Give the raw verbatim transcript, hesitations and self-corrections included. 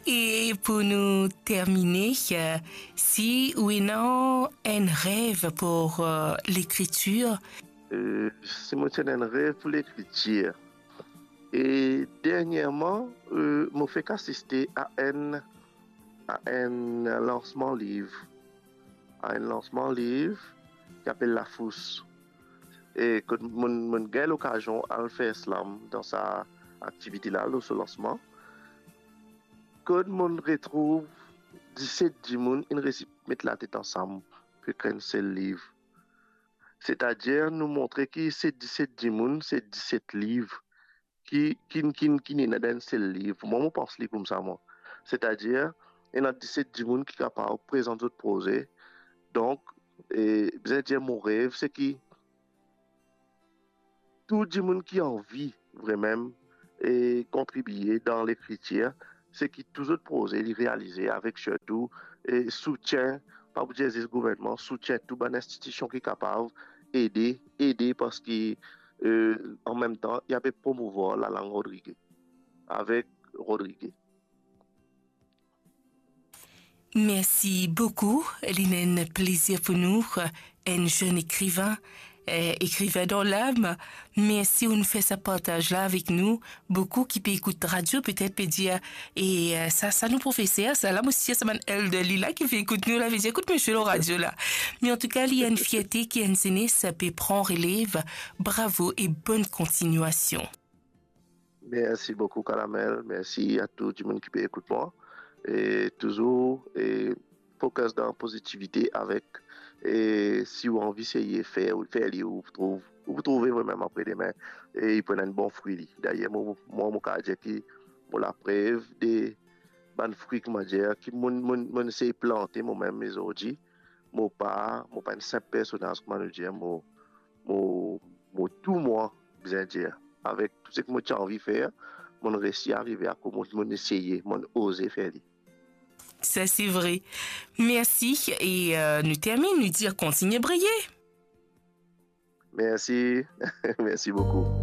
E pou nou termine, eh, si ou ena enn rev pou, eh, lekritir? Eh, si mo ti ena enn rev pou lekritir. E derniereman, eh, mo fek asiste a enn, a enn lansman liv. A enn lansman liv ki apel Lafous. E kot mo'nn, mo'nn gagn lokazion al fer slam dan sa aktivite la, lor so lansman. Kot mo'nn retrouv diset dimoun inn resi met latet ansam pou ekrir enn sel liv. Setadir, nou montre ki se diset dimoun, se diset liv ki, ki, ki, ki ena dan enn sel liv. Mwa, mo pans li koumsa, mwa. Setadir, ena diset dimoun ki kapav prezant zot proze. Donk, e, bizin dir mo rev, se ki tou dimoun ki anvi vremem, e, kontribie dan lekritir, se ki tou zot proze, li realize avek sirtou, e, soutien, pa pou dir zis gouvernman, soutien tou bann institision ki kapav ede, ede, parski, e, an mem tan, li pe promouvwar lalang rodrige, avek rodrige. Mersi boukou, li enn plezir pou nou, enn zenn ekrivin, eh, ekrivin dan lam. Mersi ou'nn fer sa partaz la avek nou. Boukou ki pe ekout radio, petet pe dir, e, eh, sa, sa nou profeser, sa la, mo sir sa bann elderly la ki pe ekout nou la, pe dir, ekout misie lor radio la. Me antouka, li enn fierte ki enn zenes pe pran relev. Bravo e bonn kontinuasion. Mersi boukou, Karamel. Mersi a tou dimoun ki pe ekout mwa. E touzour, e, focus dan pozitivite avek, e, si ou anvi seye fer, fer li, ou pou trouv, ou pou trouve vremem apre demin. E li pou ena enn bon fri li. Dayer, mo, mwa, mo kapav dir ki mo laprev de bann fri, kouma dir, ki mo'nn, mo'nn, mo'nn seye plante momem, me zordi, mo pa, mo pa enn sinp personaz, kouma nou dir, mo, mo, mo tou mwa, bizin dir. Avek tou seki mo ti anvi fer, mo'nn resi arive akoz mo, mo'nn eseye, mo'nn oze fer li. Sa, se vre. Mersi. E, eh, nou termine, nou dir kontigne briye. Mersi. Mersi boukou.